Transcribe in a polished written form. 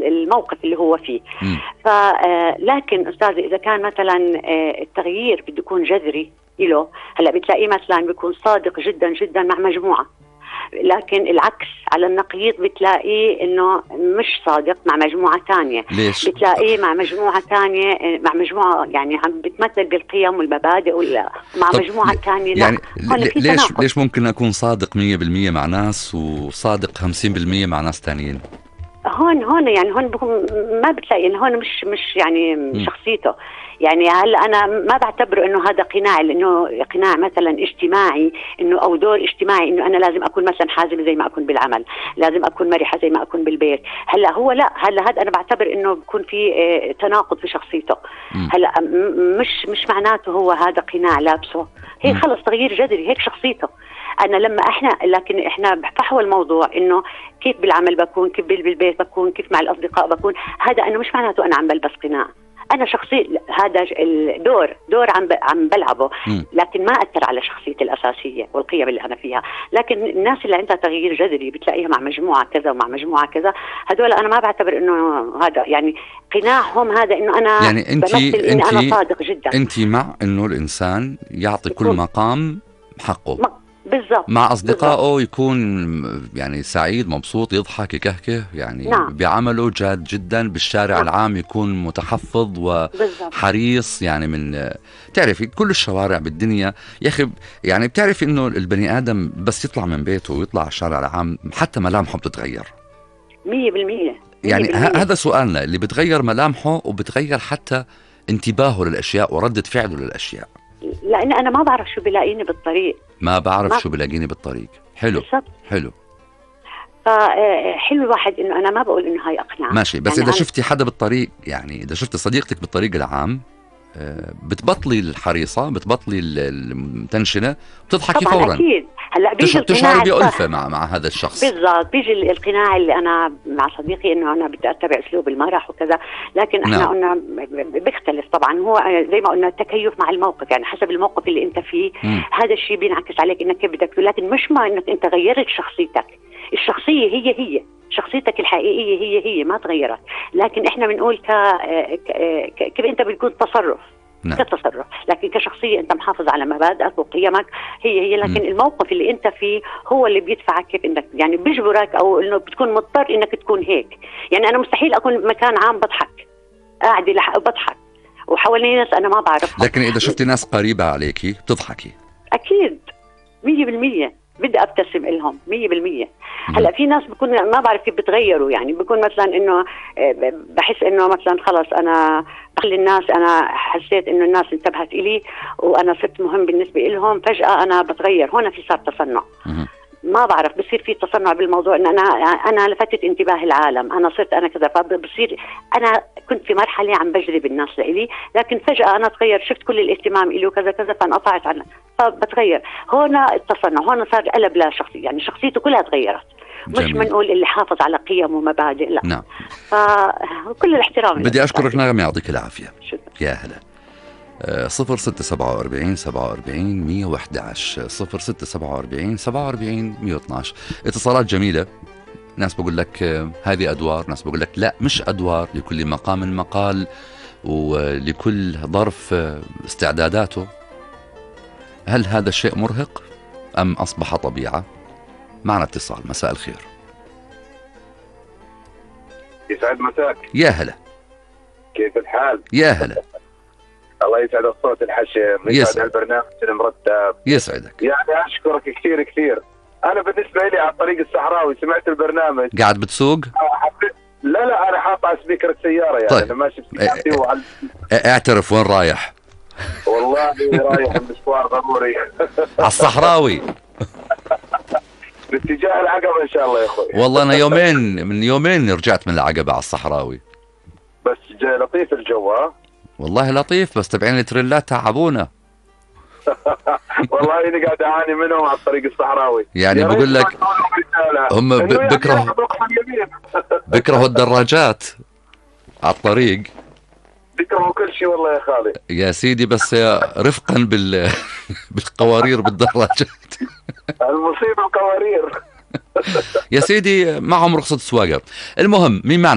الموقف اللي هو فيه. لكن أستاذي إذا كان مثلا التغيير بده يكون جذري له، هلا بتلاقيه مثلا بيكون صادق جدا جدا مع مجموعة، لكن العكس على النقيض بتلاقيه انه مش صادق مع مجموعة تانية. ليش؟ بتلاقيه مع مجموعة تانية، مع مجموعة يعني عم بتمثل بالقيم والمبادئ، ولا مع مجموعة تانية يعني ليش ممكن أكون صادق 100% مع ناس وصادق 50% مع ناس تانيين؟ هون يعني هون ما بتلاقي إنه هون مش يعني شخصيته. يعني هلا انا ما بعتبره انه هذا قناع، لانه قناع مثلا اجتماعي، انه او دور اجتماعي، انه انا لازم اكون مثلا حازمه زي ما اكون بالعمل، لازم اكون مرحه زي ما اكون بالبيت. هلا هو لا، هلا هذا انا بعتبر انه بكون في تناقض في شخصيته. هلا مش معناته هو هذا قناع لابسه، هي خلص تغيير جذري، هيك شخصيته. انا لما لكن احنا فحوى الموضوع انه كيف بالعمل بكون، كيف بالبيت بكون، كيف مع الاصدقاء بكون. هذا انا مش معناته انا عم بلبس قناع، انا شخصي هذا الدور عم بلعبه، لكن ما اثر على شخصيتي الاساسيه والقيم اللي انا فيها. لكن الناس اللي عندها تغيير جذري بتلاقيها مع مجموعه كذا ومع مجموعه كذا، هذول انا ما بعتبر انه هذا يعني قناعهم، هذا انه انا يعني بمثل اني انا صادق جدا. انت مع انه الانسان يعطي كل مقام حقه بالضبط، مع أصدقائه، يكون يعني سعيد مبسوط يضحك يكهكه يعني. نعم. بعمله جاد جدا، بالشارع نعم. العام يكون متحفظ وحريص. يعني من تعرفي كل الشوارع بالدنيا يا أخي، يعني بتعرفي إنه البني آدم بس يطلع من بيته ويطلع على الشارع العام حتى ملامحه بتتغير 100%. يعني هذا سؤالنا، اللي بتغير ملامحه وبتغير حتى انتباهه للأشياء وردة فعله للأشياء. لأن أنا ما بعرف شو بلاقيني بالطريق، ما بعرف شو بلاقيني بالطريق. حلو بالزبط. حلو. فحلو الواحد إنه أنا ما بقول إنه هاي أقنع ماشي، بس يعني إذا شفتي حدا بالطريق، يعني إذا شفتي صديقتك بالطريق العام بتبطلي الحريصة، بتبطلي المتنشنة، بتضحكي فورا. أكيد. هلا بيجي تشعري بألفة مع هذا الشخص. بالضبط، بيجي القناع اللي أنا مع صديقي إنه أنا بدي أتبع أسلوب المرح وكذا، لكن إحنا قلنا بيختلف طبعا. هو زي ما قلنا التكيف مع الموقف، يعني حسب الموقف اللي أنت فيه هذا الشيء بينعكس عليك إنك كيف بدك، لكن مش ما إنك أنت غيرت شخصيتك. الشخصية هي شخصيتك الحقيقية هي ما تغيرت، لكن إحنا بنقول كيف أنت بتكون تصرف. نعم. كتصرف، لكن كشخصية أنت محافظ على مبادئك وقيمك هي لكن الموقف اللي أنت فيه هو اللي بيدفعك كيف إنك يعني بيجبرك، أو إنه بتكون مضطر إنك تكون هيك. يعني أنا مستحيل أكون مكان عام بضحك، قاعدة بضحك وحواليني ناس أنا ما بعرفها، لكن إذا شفتي ناس قريبة عليكي بتضحكي. أكيد 100% بدي أبتسم إلهم 100%. هلا في ناس بكون ما بعرف كيف بتغيروا، يعني بكون مثلا إنه بحس إنه مثلا خلص أنا بخلي الناس، أنا حسيت إنه الناس انتبهت إلي وأنا صرت مهم بالنسبة إلهم، فجأة أنا بتغير. هنا في صار تصنع، ما بعرف بصير في تصنع بالموضوع، إن أنا لفتت انتباه العالم، أنا صرت أنا كذا، فبصير أنا كنت في مرحلة عم بجذب الناس لإلي، لكن فجأة أنا تغير، شفت كل الاهتمام إلي وكذا كذا فانقطعت عنه، فبتغير. هنا التصنع، هنا صار قلب لا شخصية، يعني شخصيته كلها تغيرت. مش بنقول اللي حافظ على قيم ومبادئ، لا. نعم. فكل الاحترام. بدي أشكرك نغم، يعطيك العافية. يا هلا. 0647 47 111 0647 47 112. اتصالات جميلة، ناس بقول لك هذه أدوار، ناس بقول لك لا مش أدوار، لكل مقام مقال ولكل ظرف استعداداته. هل هذا الشيء مرهق أم أصبح طبيعة؟ معنا اتصال. مساء الخير. يسعد مساك. يا هلا. كيف الحال؟ يا هلا. الله يسعد الصوت الحشم، يسعد البرنامج المرتب. يسعدك. يعني أشكرك كثير كثير. أنا بالنسبة لي على الطريق الصحراوي سمعت البرنامج. قاعد بتسوق؟ لا أنا حاط على سبيكر السيارة، يعني طيب. أنا ماشي بسيارتي اعترف وين رايح؟ والله رايح مشوار ضروري على الصحراوي باتجاه العقبة إن شاء الله يا أخوي. والله أنا من يومين رجعت من العقبة على الصحراوي. بس لطيف الجو. والله لطيف، بس تبعين التريلات تعبونا والله أنا قاعد أعاني منهم على الطريق الصحراوي. يعني بقول لك هم بكرهوا الدراجات على الطريق، بكرهوا كل شيء والله يا خالي يا سيدي، بس رفقا بالقوارير بالدراجات المصيبة القوارير يا سيدي، معهم رخصة سواقة. المهم مين معنا؟